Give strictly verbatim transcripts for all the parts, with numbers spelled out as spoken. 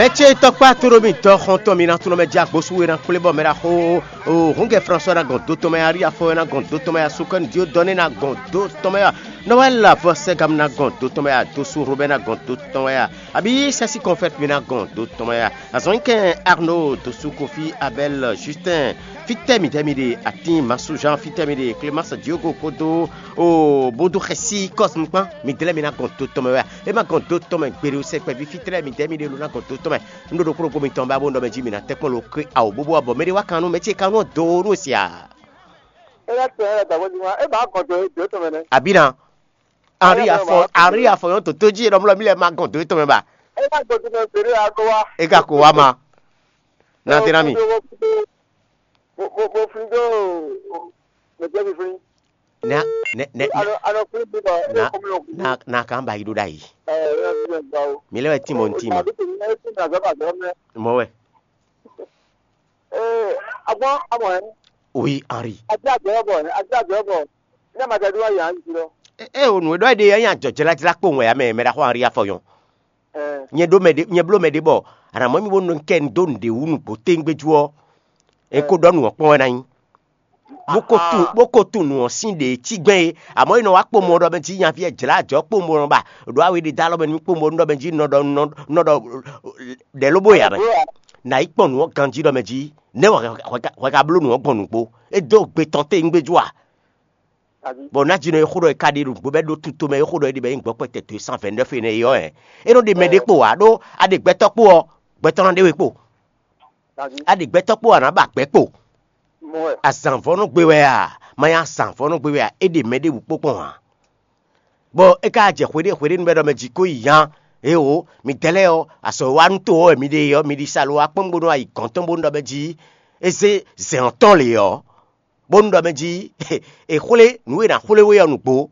Ecé tɔkpá tóɖó mì dɔ xɔntɔn mi ná tunɔ mɛ jɛ agbosu e ná kplé bɔ mɛ ɖaxó o húngɛ François ná gɔn dó tɔn mɛ, Ari afɔ ná gɔn dó tɔn mɛ, Asukɔn Diodɔne ná gɔn dó tɔn mɛ, Noël Lavɔ Sɛgam ná gɔn dó tɔn mɛ, Adosu Robert ná gɔn dó tɔn mɛ, abi Sɛsi Kɔnfɛt mi ná gɔn dó tɔn mɛ, Azɔn kɛn Arnaud Dosu Kofi Abel Justin. Fítɛ́ midɛɛ mi ɖe? Atín Masúzán, fítɛ́ mi ɖe? Clémence Diogo kpódó o Bódú Xɛsí Kɔ́s nukpán, midɛɛ lɛ́ɛ mi ná gɔn dó tɔn mɛ wɛ a? É ma gɔn dó tɔn mɛ gbeɖé o sɛkpɛví, fítɛ́ lɛ́ɛ midɛɛ mi ɖe lo ná gɔn dó tɔn mɛ. Un ɖo ɖokpó ɖokpó mitɔn ba bó un ɖɔ mɛ jí mi ná tɛ́ kpɔ́n lo ké awo bóbó abɔ mɛ ɖé wá kan nú mɛ ce ka nɔ dó nú sia. É lɛ́ tɛn lɛ́ dǎgbó jí wá, é bǎ gɔn dó dó tɔn mɛ nɛ́. Abǐ ná, Henri afɔ Henri afɔ yɔn toto jí ɖɔmlɔ mi lɛ ma gɔn dó tɔn mɛ ba. É lɛ́ gɔn dó mɛ gbeɖé a gó wá. É ka ko wá ma. Na tɛn ná mi. Mo mo mo flin dó mɛ jẹ́ mi flin. Na nɛ nɛ Ano ano flin bí bɔ é Na kɔmi o. Na na kan ba yi ɖo ɖa yi. Ɛ ɛ ɛ gba o. Mi lɛ wɛ tin mo tin ma. Abi tin ɛ tin na zɔ ba zɔ mɛ. Mɔ wɛ. Ee agbɔn amɔ ɛ. Oui, Henri. Adi adzɔ bɔ ɛ adi adzɔ bɔ. Ne ma jɛ do ayi an ti lɔ. E e o nu e ɖɔ e ɖe ɛ nya jɔ jlajla kpowun wɛ ya mɛ mɛ ɖaxó Henri afɔ yɔn. Ɛ Nyɛ ɖó mɛ ɖé nyɛ bló mɛ ɖé bɔ anamɔ mi bó nɔ kɛ un dó nǔɖé wú nǔgbó téŋgbéjú ɔ́, é kó ɖɔ nǔ ɔ́ kpɔ́n wɛ ná nyí. Bó ko tunwun bó ko tunwun nǔ ɔ́ sín ɖě cí gbɛn é. Amɔ̌, è nɔ wá kpomɔ ɖɔ mɛ jí nyaví ɛ jlǎ ajɔ̌ kpomɔ nɔ ba ɖo awe ɖé dó alɔ mɛ nú kpomɔ nɔ mɛ jí nɔ ɖɔ nɔ nɔ ɖɔ ɖɛ̌ lóbó ya mɛ. Nǎ yi kpɔn nǔ ɔ́ ganjí ɖɔ mɛ jí nɛ̌ wɛ hwɛ ka bló nǔ ɔ́ gbɔn nǔgbó? É dó gbe tɔn téwúngbéjú a? Bɔ ná jinɔ e xó ɖɔ è ka ɖe nǔgbó bɔ é ɖó tuto mɛ e xó ɖɔ é ɖe bɔ é nyí gbɔ́kpɛ́tɛ́ dó e cent vingt-neuf énɛ́ é ɔ́ hɛn. É nɔ ɖe mɛ ɖé kpo ǎ ɖó a ɖe gbɛtɔ́ kpo ɔ́, gbɛtɔ́ ná ɖe we kpo. A ɖe gbɛtɔ́ kpo ǎ ná ba gbɛ̌ kpo. Azǎnvɔ́ nɔ gbe wɛ a? Ma nyí azǎnvɔ́ nɔ gbe wɛ a? É ɖe mɛ ɖěbǔ kpo kpɔ́n ǎ. Bɔ é ka jɛ hweɖé hweɖénu bɔ é ɖɔ mɛ jí kó yi nya. Éeǒ, midɛɛ lɛ́ɛ ɔ́, azɔ̌ e wa nú to ɔ́ wɛ mi ɖe é ɔ́, mi ɖi sa lo wá kpɔ́n bónú a yi gɔ̌n tɔn bónú ɖɔ mɛ jí é zé zɛ̌n ɔ́ tɔn lě ɔ́, bónú ɖɔ mɛ jí è xwlé nǔ e è nǎ xwlé we ɔ́ nǔgbó,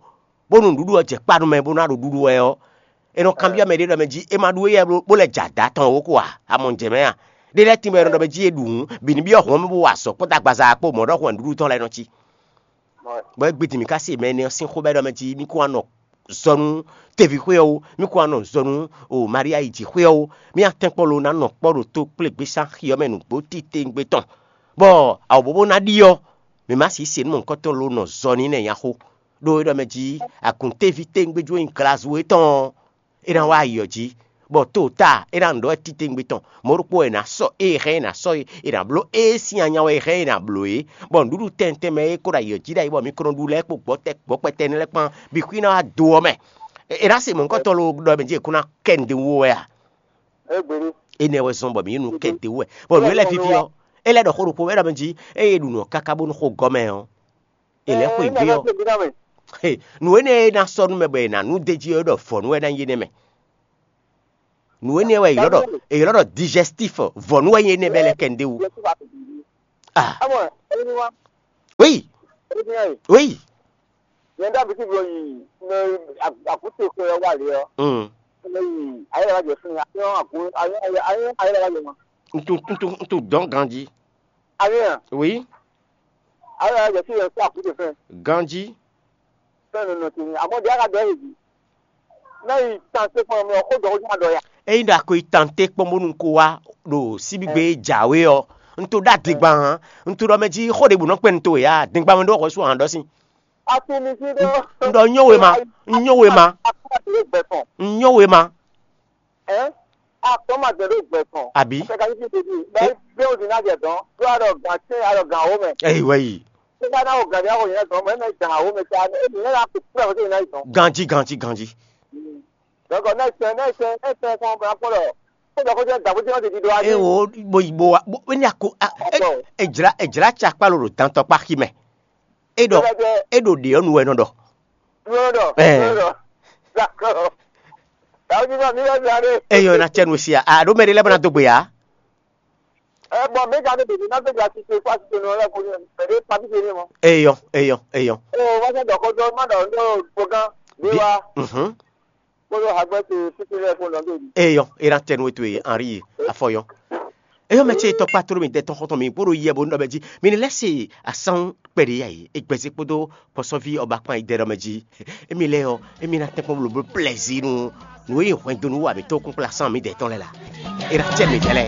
bónú nǔɖuɖu ɔ́ jɛ kpa nú mɛ bónú a ɖo ɖuɖu wɛ ɔ́, è nɔ kanbyɔ́ mɛ ɖé ɖɔ mɛ jí é ma ɖu éyɛ́ bó lɛ́ jɛ adǎ tɔn ó ko a? A mɔ nǔ jɛ mɛ a? Ɖé lɛ́ɛ tínmɛ è nɔ ɖɔ mɛ jí é ɖu hǔn, bǐ ní byɔ́ hɔn mɛ bó wa azɔ̌ kpódó agbaza kpó mɔ̌ ɖɔhun wɛ nǔɖuɖu tɔn lɛ́ɛ nɔ cí. Bɔ é gbe din mǐ ka se mɛ énɛ́ ɔ́ sín xó bɔ é ɖɔ mɛ jí mì kún wá nɔ zɔ nú teví xwé ɔ́ ó, mì kún wá nɔ zɔ nú o Maria yi jǐ xwé ɔ́ ó, mì atɛ́nkpɔ́ lo ná nɔ kpɔ́ ɖo tó kplé gbésán xi ɔ́ mɛ nǔgbó titewungbe tɔn, bɔ awǒbóbó ná ɖi ɔ́, mǐ ma sixú se nú mɔ̌hunkɔtɔn lo nɔ zɔ n'i nɛ́ nyaxó. Ɖó é ɖɔ mɛ jí aguntéví tewungbe jó nyí glazu étɔn ɔ́, é ná wá ayǐ ɔ́ jí, bɔ to ta é ná nǔ ɖɔ wɛ titewungbe tɔn. Mɔ̌ ɖokpó wɛ è nǎ sɔ́ ée hɛn è nǎ sɔ́ é, è nǎ bló ée sín anya wɛ é hɛn è nǎ bló é, bɔ nǔɖuɖu tɛntɛn mɛ e é kó ɖo ayǐ ɔ́ jí ɖ'ayǐ bɔ mi ko nɔ ɖu lɛ́ɛ kpó gbɔ̌ tɛ́ gbɔ̌ kpɛtɛ́ énɛ́ lɛ́ɛ kpán bǐ xwí ná wá do ɔ́ mɛ. È nǎ se mɔ̌hunkɔtɔn lo ɖɔ mɛ jí è kún ná kɛ nǔɖé wú wɛ a? Énɛ́ wɛ zɔ́n bɔ mǐ yi nú kɛ dě wú wɛ, bɔ nǔ e lɛ́ɛ víví ɔ́, é lɛ́ ɖɔ xó ɖokpó wɛ é ɖɔ mɛ jí ée è ɖu nǔ ɔ́ káká bónú xó gɔ́ mɛ ɔ́, è lɛ́ xweyǐgbe ɔ́. Nǔ énɛ́ e ná sɔ́ nú mɛ bɔ è nǎ nú d'é jí ɔ́, é ɖɔ vɔ̌nu wɛ ná nyí énɛ́ mɛ. Nǔ énɛ́ wɛ è ylɔ́ ɖɔ è ylɔ́ ɖɔ digestif, vɔ̌nu wɛ nyí énɛ́ bɔ é lɛ́ kɛ nǔɖé wú. Ah, oui, oui. Nyɛ ɖo abiti blɔ yi ne akute xwe ɔ́ wa le ɔ́. Mm. Ne yi ayé la jɛ fún mi ayé ɔ́ akun ayé ayé ayé la jɛ ma. N tu n tu n tu dɔn ganji. Ayé hàn. Oui. Ayé la jɛ fún yẹn fún akute fún. Ganji. Fún nínú ti ni àmọ́ di ara dɔ yìí. Ne yi tante fún mi ɔkó dɔ ó jẹ́ àdɔ ya. Eyi ɖo ako yi tante kpɔn bónú ko wá ɖo síbígbe jǎwe ɔ́, n to ɖó adingban hàn, n to ɖɔ mɛ jí xó ɖěbǔ nɔ kpɛn n to wě a? Dingban mɛ ɖó xɔ sú hàn ɖɔ sín. Atumi sí ɖó. N ɖɔ nyɔ́ we ma, n nyɔ́ we ma, Akpɔ́mɔ ti ɖó gbɛ tɔn. N nyɔ́ we ma. Ɛ? Akpɔ́mɔ ti ɖó gbɛ tɔn. Àbí? Ṣé ka ní ti tètè? Bẹ́ẹ̀ bí o ti náà jẹ tán, tó a lọ gàn tí a lọ gàn ó mẹ́. Ẹyí wẹ́yì. Tó bá náà o gàn ní àwọn yẹn tán, mọ̀ ẹ́ mẹ́ gàn ó mẹ́ tí a ní èmi yẹn láti kúrò àwọn tó yẹn náà tán. Ganji, ganji, ganji. Dɔgɔ náà ṣe náà ṣe náà ṣe fún ọmọ akpọ́lọ̀. Kó jọ kó jẹ́ dàgbò tí wọ́n ti di do wá ní. E wo bo bo wa bo ni ako a e e jira e jira tsa kpalo ɖo dantɔ kpa xi mɛ. E ɖɔ e ɖo ɖe ɔnu wɛ nɔ ɖɔ. Yɔrɔ dɔ. Ɛɛ. Yɔrɔ dɔ. D'accord. Kàwé ní ma mi wá mi adé. Eyɔ na tsɛ nu sia a ɖo mɛ ɖe lɛ bena do gbe ya. Ɛ bɔn mi ka ne bèbè n'a bèbè asise fún asise nù lɛ kò ní bèbè pàtí ṣe ní mɔ. Eyɔ eyɔ eyɔ. Ɛ wọ́n ṣe dọ̀kọ́ dọ́ má dọ̀ ń dọ̀ gbọ̀ngàn bí wa. Mhm. Kpódó hagbɛ́ ce fífi lɛ́ɛ kpó nɔ bèbè. Eyɔ e na tsɛ nu eto ye Henri ye afɔ yɔ. Eyɔ mɛ ce tɔkpa toro mi dɛ tɔn xɔtɔn mi kpódó yɛ bo nɔ bɛ jí mi ni lɛ se asan kpɛɖe ya yi egbɛzi kpódó kpɔsɔvi ɔba kpan yi dɛ dɔ mɛ jí. Emi lɛ yɔ emi na tɛnkpɔn blo blo plɛzi nu nu e hwɛndo nu wa mi tó kún kpla san mi dɛ tɔn lɛ la. Ira cɛ mi tɛlɛ.